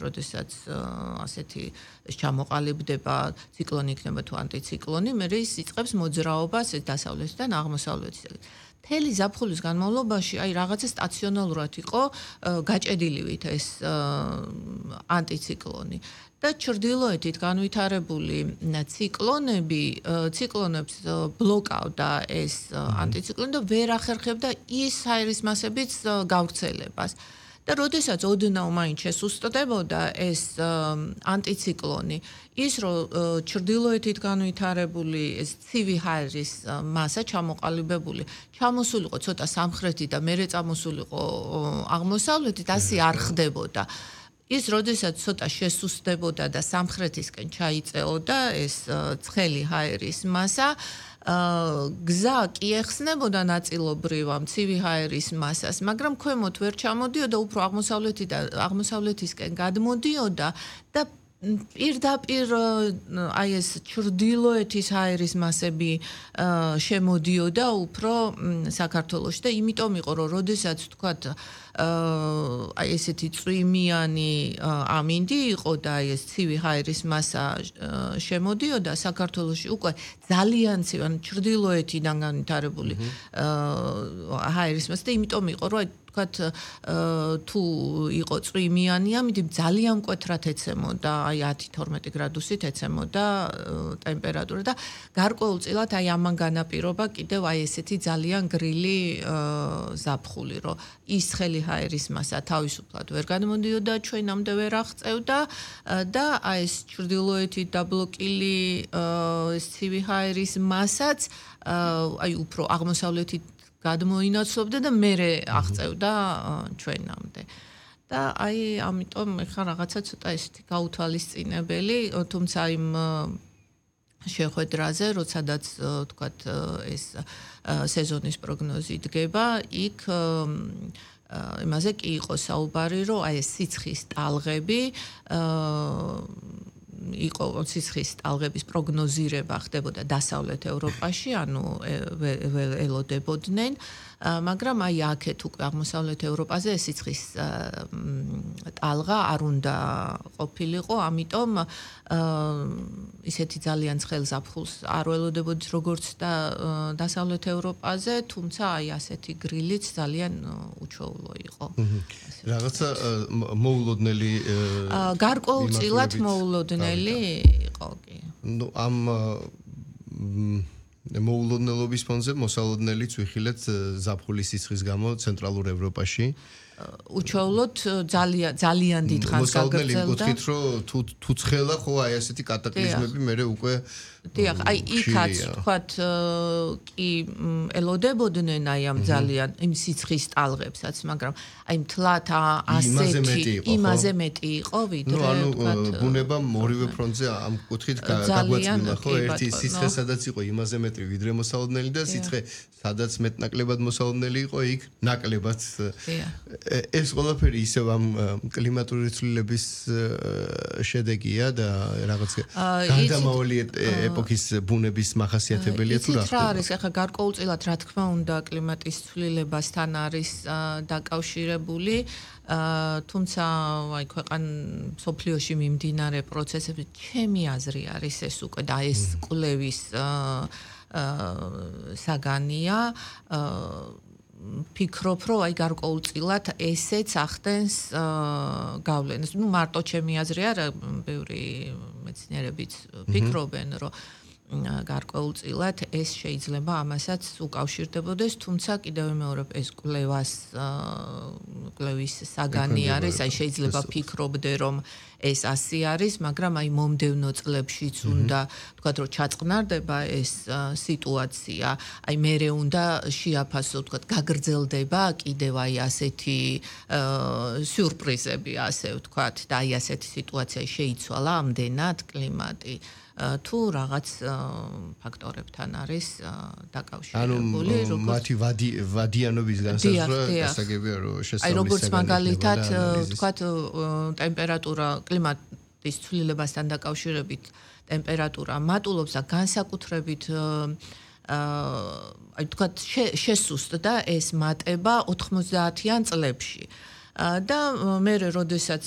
როდესაც ასეთი ჩამოყალიბდება ციკლონი იქნება თუ ანტიციკლონი, მე ის იწყებს მოძრაობას ეს დასავლეთიდან აღმოსავლეთისაკენ. მთელი ზაფხულის განმავლობაში აი რაღაცა სტაციონალურად იყო გაჭედილივით ეს ანტიციკლონი. და ჩრდილოეთით განვითარებული ციკლონებს ბლოკავდა ეს ანტიციკლონი და ვერ ახერხებდა ის ჰაერის მასების გავრცელებას. და როდესაც ოდნავ მაინც შესუსტდებოდა ეს ანტიციკლონი, ის რომ ჩრდილოეთით განვითარებული ეს ცივი ჰაერის მასა ჩამოყალიბებული, ჩამოსულიყო ცოტა სამხრეთით და მერე წამოსულიყო აღმოსავლეთით, ასე არ ხდებოდა. ის როდესაც ცოტა შესუსტდებოდა და სამხრეთისკენ ჩაიწეოდა ეს ცხელი ჰაერის მასა, გზა კი ეხსნებოდა ნაწილობრივ ამ ცივი ჰაერის მასას, მაგრამ ქვემოთ ვერ ჩამოდიოდა, უფრო აღმოსავლეთისკენ გადმოდიოდა და პირდაპირ აი ეს ჩრდილოეთის ჰაერის მასები შემოდიოდა უფრო საქართველოში და იმიტომ იყო რომ როდესაც თქვათ აი ესეთი წვიმიანი ამინდი იყო და აი ეს ცივი ჰაერის მასა შემოდიოდა საქართველოში უკვე ძალიან ცივი ან ჩრდილოეთიდან განვითარებული ჰაერის მასა და იმიტომ იყო რომ თქვათ თუ იყო წვიმიანი ამინდი ძალიან მკვეთრად ეცემოდა აი 10-12 გრადუსით ეცემოდა ტემპერატურა და გარკვეულწილად აი ამან განაპირობა კიდევ აი ესეთი ძალიან გრილი ზაფხული რომ ის ცხელი ჰაერის მასა თავისუფლად ვერ გადმოდიოდა ჩვენამდე ვერ აღწევდა და აი ეს ჩრდილოეთით დაბლოკილი ეს ცივი ჰაერის მასაც აი უფრო აღმოსავლეთით გადმოინაცვლებდა და მერე აღწევდა ჩვენამდე. და აი ამიტომ ეხლა რაღაცა ცოტა ესეთი გაუთვალისწინებელი, თუმცა იმ შეხვედრაზე, როდესაც თქვათ ეს სეზონის პროგნოზი დგება, იქ იმაზე კი იყო საუბარი, რომ აი ეს სიცხის ტალღები იყო სიცხის ტალღების პროგნოზირება ხდებოდა დასავლეთ ევროპაში, ანუ ელოდებოდნენ, მაგრამ აი აქეთ უკვე აღმოსავლეთ ევროპაზე ეს სიცხის ტალღა არ უნდა ყოფილიყო, ამიტომ ისეთი ძალიან ცხელ ზაფხულს არ ველოდებოდით როგორც დასავლეთ ევროპაზე, თუმცა აი ასეთი გრილიც ძალიან უჩვეულო იყო. რაღაცა მოულოდნელი გარკვეულწილად მოულოდნელი იყო კი. ნუ ამ მოულოდნელობის ფონზე მოსალოდნელიც ვიხილეთ ზაფხულის სიცხის გამო ცენტრალურ ევროპაში. უჩვეულოდ ძალიან დიდ ხანს გაგრძელდა. მოსალოდნელი გქით რომ თუ ცხელა ხო აი ასეთი კატაკლიზმები მერე უკვე დიახ, აი იქაც თქვათ კი ელოდებოდნენ აი ამ ძალიან იმ სიცხის ტალღებსაც, მაგრამ აი მთლად იმაზე მეტი იყო ვიდრე თქვათ ბუნება ორივე ფრონტზე ამ კუთხით გაგვაწმინდა ხო ერთი სიცხე სადაც იყო იმაზე მეტი ვიდრე მოსალოდნელი და სიცხე სადაც მეტნაკლებად მოსალოდნელი იყო იქ ნაკლებად ეს ყველაფერი ისევ ამ კლიმატური ცვლილების შედეგია და რაღაც გარდამავალი ეპოქის ბუნების მახასიათებელია თუ რა ხდება? არის ახლა გარკვეულწილად რა თქმა უნდა კლიმატის ცვლილებასთან არის დაკავშირებული, თუმცა აი სოფლიოში მიმდინარე პროცესები ჩემი აზრი არის ეს უკვე და ეს კვლევის საგანია ფიქრობ, რომ აი გარკვეულწილად ესეც ახდენს გავლენას. ნუ მარტო ჩემი აზრი არა, ბევრი მეცნიერებიც ფიქრობენ, რომ გარკვეულწილად ეს შეიძლება ამასაც უკავშირდებოდეს, თუმცა კიდევ მეორე ეს კვლევის საგანი არის, აი შეიძლება ფიქრობდე, რომ ეს ასე არის, მაგრამ აი მომდევნო წლებშიც უნდა თქვათ, რომ ჩაწყნარდება ეს სიტუაცია, აი მერე უნდა შეაფასო, თქვათ, გაგრძელდება კიდევ აი ასეთი სიურპრიზები, ასე ვთქვათ, და აი ასეთი სიტუაცია შეიცვალა ამდენად კლიმატი. თუ რაღაც ფაქტორებთან არის დაკავშირებული, ანუ მათი ვადიანობის განსაზღვრა გასაგებია, რომ შესწავლის აი როგორც მაგალითად თქვათ ტემპერატურა კლიმატის ცვლილებასთან დაკავშირებით ტემპერატურა მატულობს და განსაკუთრებით აი თქვათ შესუსტდა ეს მატება 90-იან წლებში. და მე როდესაც